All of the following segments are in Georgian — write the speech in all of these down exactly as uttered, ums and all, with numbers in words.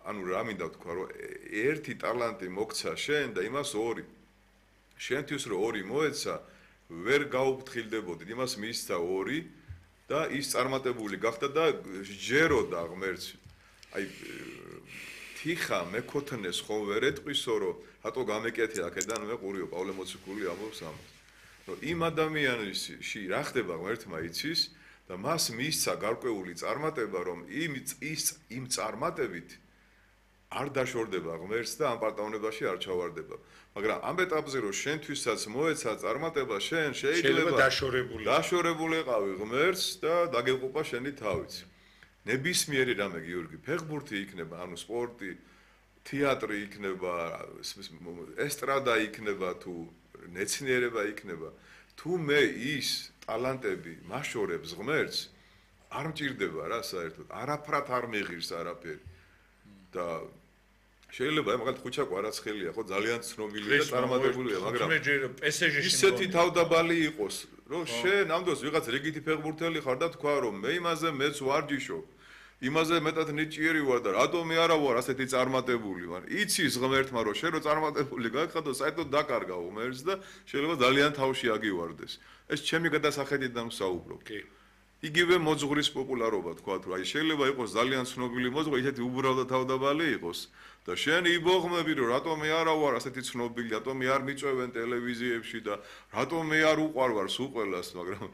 ანუ რა მინდა ვთქვა, რომ ერთი ტალანტი მოგცა შენ და იმას ორი. შენთვის რომ ორი მოეცა, ვერ გაუფრთხილდებოდით, იმას მისცა ორი და ის წარმატებული გახდა და ჯეროდა ღმერთს. აი თიხა მეკოთნეს ხომ ვერ ეტყვისო, რომ რატო გამეკეთე აქედან მე ყურიო პავლე მოციქული ამბობს ამას. რომ იმ ადამიანში რა ხდება ღმერთმა იცის და მას მისცა გარკვეული წარმატება, რომ იმ ის იმ წარმატებით არ დაშორდება ღმერთს და ამ პარტავნებაში არ ჩავარდება. მაგრამ ამ ეტაპზე რომ შენთვისაც მოეცა წარმატება, შენ შეიძლება დაშორებული დაშორებულიყავი ღმერთს და დაგეყოფა შენი თავიც. ნებისმიერი რამე გიორგი, ფეხბურთი იქნება, ანუ სპორტი, თეატრი იქნება, ესტრადა იქნება თუ მეცნიერება იქნება, თუ მე ის ტალანტები მაშორებს ღმერთს, არ მჭირდება რა საერთოდ, არაფრად არ მეღირს არაფერი. და შეიძლება მაგალითად ხუჩაკო არაცხელია, ხო, ძალიან ცნობილია და წარმატებულია, მაგრამ ისეთი თავდაბალი იყოს, რომ შენ ამდროს ვიღაც რიგითი ფეხბურთელი ხარ და თქვა, რომ მე იმაზე მეც ვარჯიშობ. იმაზე მეტად ნიჭიერი ვარ და რატომ მე არა ვარ ასეთი წარმატებული ვარ. იცის ღმერთმა რომ შენ რო წარმატებული გაგხადო, საერთოდ დაკარგა ღმერთს და შეიძლება ძალიან თავში აგივარდეს. ეს ჩემი გადასახედიდან ვსაუბრობ. კი. იგივე მოძღვრის პოპულარობა თქვა თუ აი შეიძლება იყოს ძალიან ცნობილი მოძღვრი, ისეთი უბრალო თავდაბალი იყოს და შენ იბოღმები რომ რატომ მე არა ვარ ასეთი ცნობილი, რატომ მე არ მიწვევენ ტელევიზიებში და რატომ მე არ უყვარვარ სულ ყველას, მაგრამ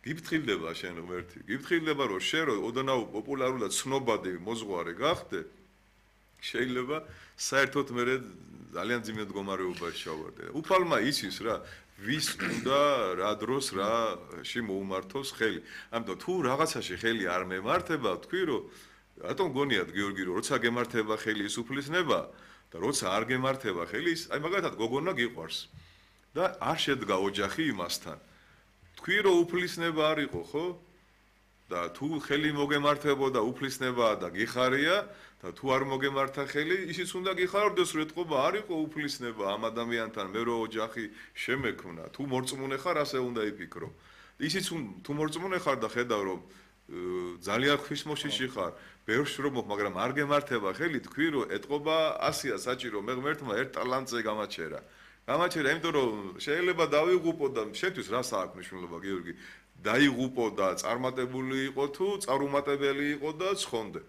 გიფრთხილდება შენ ღმერთი, გიფრთხილდება რომ შენ რო ოდნავ პოპულარული და ცნობადი მოძღვარი გახდე, შეიძლება საერთოდ მე ძალიან ძიმე მდგომარეობაში ჩავარდე. უფალმა იცის რა ვის უნდა რა დროს რაში მოუმართოს ხელი. ამიტომ თუ რაღაცაში ხელი არ მემართება, თქვი რომ რატომ გონიათ გიორგი რომ როცა გემართება ხელი ის უფლისნება და როცა არ გემართება ხელი ის, აი მაგალითად გოგონა გიყვარს და არ შედგა ოჯახი იმასთან. თქვი რომ უფლისნება არ იყო, ხო? და თუ ხელი მოგემართებოდა უფლისნებაა და გიხარია და თუ არ მოგემართა ხელი, ისიც უნდა გიხარდეს, რომ ეთყობა არ იყო უფლისნება ამ ადამიანთან, მე რო ოჯახი შემექმნა. თუ მორწმუნე ხარ, ასე უნდა იფიქრო. ისიც თუ მორწმუნე ხარ და ხედავ რომ ძალიან ღვთისმოშიში ხარ, ბევრს რომ მოხ, მაგრამ არ გემართება ხელი, თქვი რომ ეთყობა ასია საჭირო, მე ღმერთმა ერთ ტალანტზე გამაჩერა. გამაჩერა, იმიტომ რომ შეიძლება დავიღუპო და შენთვის რა საქმე მნიშვნელობა გიორგი? დაიღუპო და წარმატებული იყო თუ წარუმატებელი იყო და ცხონდე.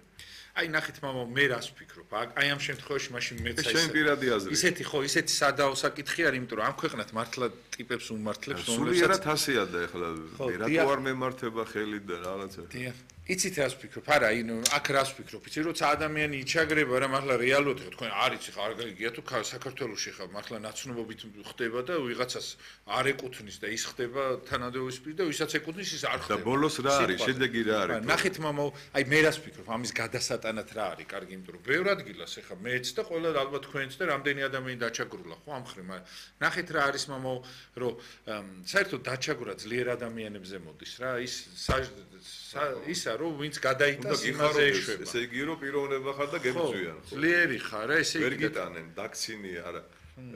აი ნახეთ მამა, მე რას ვფიქრობ? აი ამ შემთხვევაში მაშინ მეც აი შენ პირადი აზრი. ისეთი ხო, ისეთი სადაო საკითხი არის, იმიტომ რომ ამ ქვეყნად მართლა ტიპებს უმართლებს, სულიერად ასია და ეხლა რატო არ მემართება ხელი და რაღაცა. დიახ. იცით რას ვფიქრობ? არა, ინ აქ რას ვფიქრობ? იცი როცა ადამიანი იჩაგრება რა მართლა რეალურად თქვენ არ იცი ხარ გიგია თუ საქართველოში ხარ, მართლა ნაცნობობით ხდება და ვიღაცას არ ეკუთვნის და ის ხდება თანადროის პირ და ვისაც ეკუთვნის ის არ ხდება. და ბოლოს რა არის? შედეგი რა არის? ნახეთ მამა, აი მე რას ვფიქრობ? ამის გადასატანად რა არის? კარგი, იმიტომ რომ ბევრ ადგილას ეხა მეც და ყველა ალბათ თქვენც და რამდენი ადამიანი დაჩაგრულა ხო ამ ხრი, მაგრამ ნახეთ რა არის მამა, რომ საერთოდ დაჩაგვრა ძლიერ ადამიანებზე მოდის რა, ის ისა რომ ვინც გადაიტანს იმაზე ეშვება. ესე იგი რომ პიროვნება ხარ და გებძვიან ხო? ძლიერი ხარ რა, ესე იგი ვერ გიტანენ, დაქცინი არა.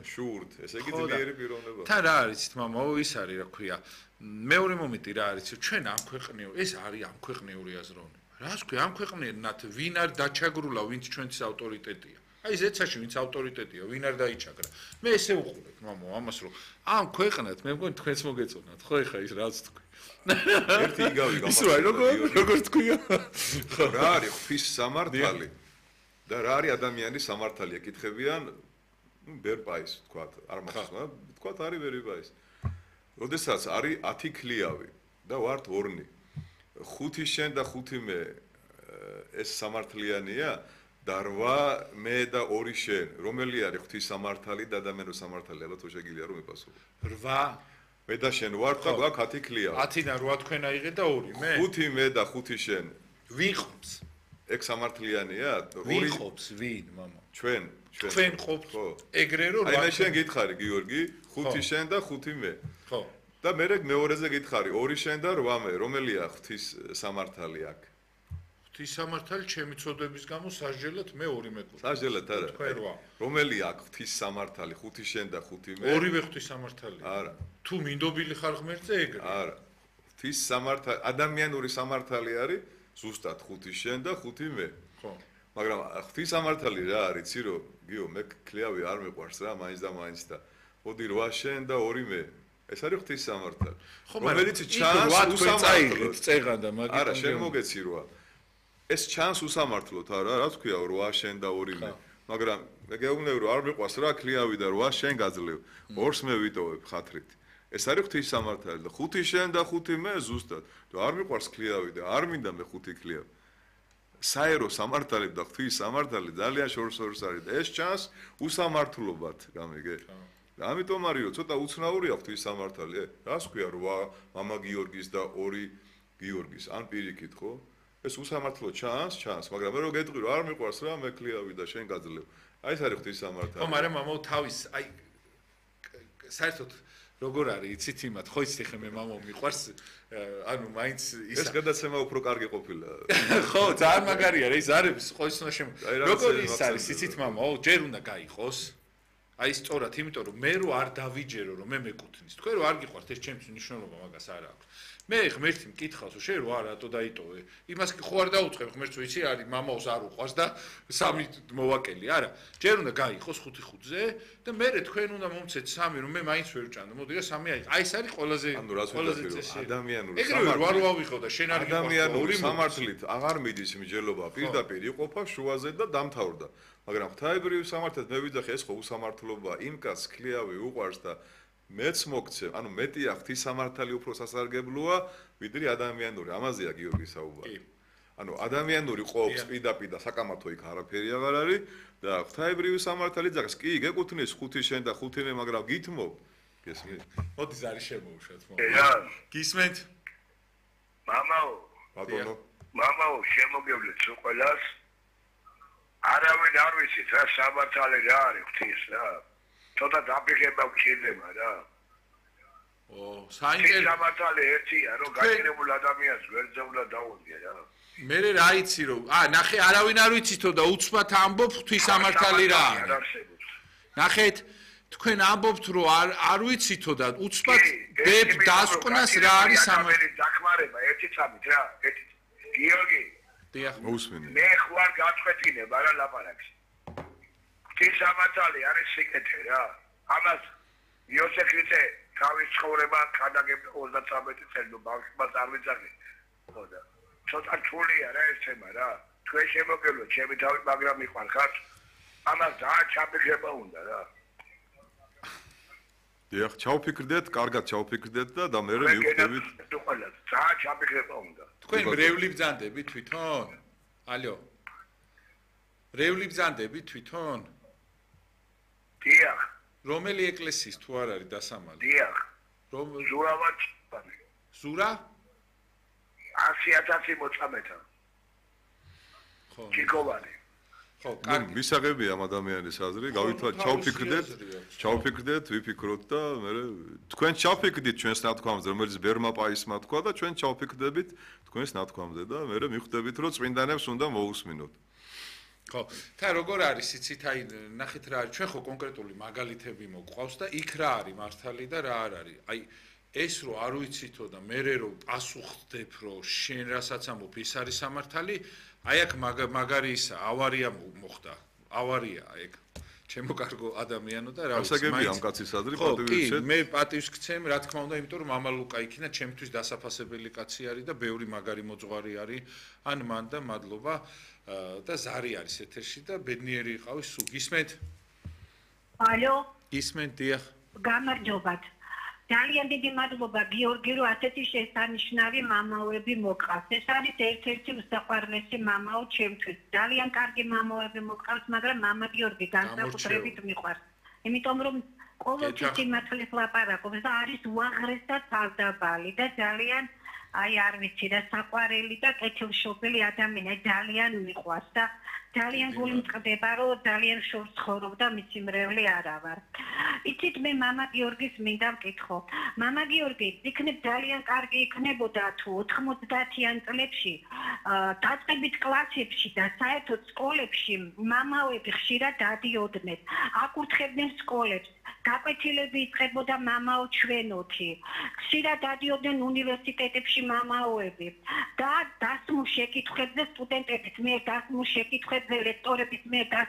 შურთ, ესე იგი ძლიერი პიროვნება. თან რა არის თმამა, ის არის რა ქვია. მეორე მომენტი რა არის, ჩვენ ამ ქვეყნიო, ეს არის ამ ქვეყნიური აზროვნება. რას ქვია, ამ ქვეყნიერნად ვინ არ დაჩაგრულა, ვინც ჩვენთვის ავტორიტეტია. აი ზეცაში ვინც ავტორიტეტია, ვინ არ დაიჩაგრა. მე ესე უყურებ მამა ამას რომ ამ ქვეყნად მე მგონი თქვენც მოგეწონათ, ხო ეხა ის რაც თქვი. ერთი იგავი გამარჯვება. ისე როგორ როგორ თქვია? რა არის ღვთის სამართალი და რა არის ადამიანის სამართალი? ეკითხებიან ბერპაის, თქვათ, არ მახსოვს, მაგრამ თქვათ არის ბერპაის. როდესაც არის ათი ქლიავი და ვართ ორნი. ხუთი შენ და ხუთი მე ეს სამართლიანია და რვა მე და ორი შენ. რომელი არის ღვთის სამართალი და ადამიანის სამართალი? ალბათ თუ შეგიძლია რომ მიპასუხო. რვა მე და შენ ვართ და გვაქვს ათი ქლიავი. ათი და რვა თქვენ აიღეთ და ორი მე. ხუთი მე და ხუთი შენ. ვიღობს. ეგ სამართლიანია? ვიღობს ვინ, მამა? ჩვენ, ჩვენ. თქვენ ყოფთ ეგრე რომ აი მე შენ გითხარი გიორგი, ხუთი შენ და ხუთი მე. ხო. და მე მეორეზე გითხარი, ორი შენ და რვა მე. რომელია ღვთის სამართალი აქ? ღვთის სამართალი ჩემი წოდების გამო სასჯელად მე ორი მეკუთვნა. სასჯელად არა. თქვენ რვა. რომელი აქ ღვთის სამართალი? ხუთი შენ და ხუთი მე. ორივე ღვთის სამართალია. არა. თუ მინდობილი ხარ ღმერთზე ეგრე. არა. ღვთის სამართალი, ადამიანური სამართალი არის ზუსტად ხუთი შენ და ხუთი მე. ხო. მაგრამ ღვთისამართალი რა არის, იცი რომ გიო მე ქლიავი არ მიყვარს რა, მაინც და მაინც და მოდი რვა შენ და ორი მე. ეს არის ღვთისამართალი. რომელიც ჩანს უსამართლოდ წეღან და მაგით არა, შენ მოგეცი რვა. ეს ჩანს უსამართლოდ არა, რა თქვია რვა შენ და ორი მე. მაგრამ მე გეუბნები რომ არ მიყვარს რა ქლიავი და რვა შენ გაძლევ. ორს მე ვიტოვებ ხათრით. ეს არის ღვთისამართალი და ხუთი შენ და ხუთი მე ზუსტად. და არ მიყვარს ქლიავი და არ მინდა მე ხუთი ქლიავი. საერო სამართალი და ღვთისამართალი ძალიან შორს შორს არის და ეს ჩანს უსამართლობად, გამიგე? და ამიტომ არისო ცოტა უცნაურია ღვთისამართალი. რას ქვია რვა მამა გიორგის და ორი გიორგის, ან პირიქით ხო? ეს უსამართლო ჩანს, ჩანს, მაგრამ მე რო გეტყვი რომ არ მიყვარს რა, მე ქლიავი და შენ გაძლევ. აი ეს არის ღვთისამართალი. ხო, მაგრამ მამაო თავის აი საერთოდ როგორ არის იცით იმათ, ხო იცით ხე მე მამაო მიყვარს, ანუ მაინც ის ეს გადაცემა უფრო კარგი ყოფილა. ხო, ძალიან მაგარია რა, ის არის ყოველთვის უნდა შემო. როგორ ის არის იცით მამაო, ჯერ უნდა გაიყოს. აი სწორად, იმიტომ რომ მე რო არ დავიჯერო რომ მე მეკუთვნის. თქვენ რო არ გიყვართ ეს ჩემთვის მნიშვნელობა მაგას არ აქვს. მე ღმერთი მკითხავს რომ შენ რო არ რატო დაიტოვე? იმას კი ხო არ დაუწყებ ღმერთს ვიცი არის მამაოს არ უყვარს და სამი მოვაკელი, არა. ჯერ უნდა გაიყოს ხუთი ხუთზე და მე თქვენ უნდა მომცეთ სამი რომ მე მაინც ვერ ვჭამ. მოდი რა სამი აი. აი ეს არის ყველაზე ყველაზე წესი ადამიანური სამართალი. ეგრევე რა რო ავიღო და შენ არ გიყვარს. ადამიანური სამართლით აღარ მიდის միջელობა, პირდაპირ იყოფა შუაზე და დამთავრდა. მაგრამ ღვთაებრივ სამართლად მე ვიძახე ეს ხო უსამართლობა, იმ კაცს ქლიავი უყვარს და მეც მოგცემ, ანუ მეტია ღვთისამართალი უფრო სასარგებლოა, ვიდრე ადამიანური. ამაზეა გიორგი საუბარი. ანუ ადამიანური ყოფს პირდაპირ და საკამათო იქ არაფერი აღარ არის და ღვთაებრივი სამართალი ძახს, კი, გეკუთვნის ხუთი შენ და ხუთი მე, მაგრამ გითმობ. გესმით? მოდი ზარი შემოუშვათ მომ. გისმენთ? მამაო, ბატონო. მამაო, შემოგევლეთ ყველას. არავინ არ ვიცით რა სამართალი რა არის ღვთის რა. ცოტა დაფიქრება გჭირდება რა. ო, საინტერესო სამართალი ერთია, რომ გაჭირებულ ადამიანს გვერდზე უნდა დაუდგე რა. მე რა იცი რომ, ა, ნახე, არავინ არ ვიცითო და უცბად ამბობ ღვთისამართალი რა არის. ნახეთ, თქვენ ამბობთ რომ არ არ ვიცითო და უცბად ბებ დასკვნას რა არის სამართალი. დახმარება ერთი წამით რა, ერთი. გიორგი დიახ, მოусმინე. მე ხوار გაწყვეტინება რა ლაპარაკს. ღვთისამართალი არის სიკეთე რა. ამას იოსე ქრისტე თავის ცხოვრება გადაგებდა ოცდათრამეტი წელი ნუ ბავშვს არ ვიცახე. ხოდა ცოტა რთულია რა ეს თემა რა. თქვენ შემოგევლოთ ჩემი თავი, მაგრამ მიყვარხართ. ამას ძალიან ჩაფიქრება უნდა რა. დიახ, ჩავფიქრდეთ, კარგად ჩავფიქრდეთ და და მე მივხვდებით. ყველა ძალიან ჩაფიქრება უნდა. თქვენ ბრევლი ბძანდები თვითონ? ალო. ბრევლი ბძანდები თვითონ? დიახ. რომელი ეკლესიის თუ არ არის დასამალი? დიახ. რომ ზურავად ზურა? ასი ათასი მოწამეთა. ხო. ჩიკოვანი. ხო, ნუ კარგი. მისაღებია ამ ადამიანის აზრი, გავითვალ ჩავფიქრდეთ, ჩავფიქრდეთ, ვიფიქროთ და მე თქვენ ჩავფიქრდით ჩვენს ნათქვამზე, რომელიც ბერმა პაისმა თქვა და ჩვენ ჩავფიქრდებით თქვენს ნათქვამზე და მე მიხვდებით, რომ წმინდანებს უნდა მოусმინოთ. ხო, თა როგორ არის იცით, აი ნახეთ რა არის, ჩვენ ხო კონკრეტული მაგალითები მოყვავს და იქ რა არის მართალი და რა არ არის. აი ეს რო არ ვიცითო და მე რო პასუხდებ, რომ შენ რასაც ამბობ, ის არის სამართალი, აი აქ მაგარი ისა, ავარია მოხდა. ავარია ეგ. ჩემო კარგო ადამიანო და რა ვიცი. ასაგებია ამ კაცის აზრი, პატივისცემ. კი, მე პატივს გცემ, რა თქმა უნდა, იმიტომ რომ მამა ლუკა იქინა ჩემთვის დასაფასებელი კაცი არის და ბევრი მაგარი მოძღვარი არის. ან მან და მადლობა და ზარი არის ეთერში და ბედნიერი იყავი სულ. გისმენთ? ალო? გისმენთ, დიახ. გამარჯობათ. ძალიან დიდი მადლობა გიორგი, რომ ასეთი შესანიშნავი მამაოები მოყავს. ეს არის ერთ-ერთი უსაყვარლესი მამაო ჩემთვის. ძალიან კარგი მამაოები მოყავს, მაგრამ მამა გიორგი განსაკუთრებით მიყვარს. იმიტომ რომ ყოველთვის სიმართლეს ლაპარაკობს და არის უაღრესად თავდაბალი და ძალიან აი არ ვიცი და საყვარელი და კეთილშობილი ადამიანი, ძალიან მიყვარს და ძალიან გული მწყდება, რომ ძალიან შორს ცხოვრობ და მისი მრევლი არა ვარ. იცით, მე მამა გიორგის მინდა ვკითხო. მამა გიორგი, იქნებ ძალიან კარგი იქნებოდა თუ ოთხმოცდაათიან წლებში დაწყებით კლასებში და საერთოდ სკოლებში მამაოები ხშირად დადიოდნენ, აკურთხებდნენ სკოლებს. გაკვეთილები იწყებოდა მამაო ჩვენოთი. ხშირად დადიოდნენ უნივერსიტეტებში მამაოები და დასმულ შეკითხვებზე სტუდენტების მიერ დასმულ შეკითხვებზე ლექტორების მიერ დასმულ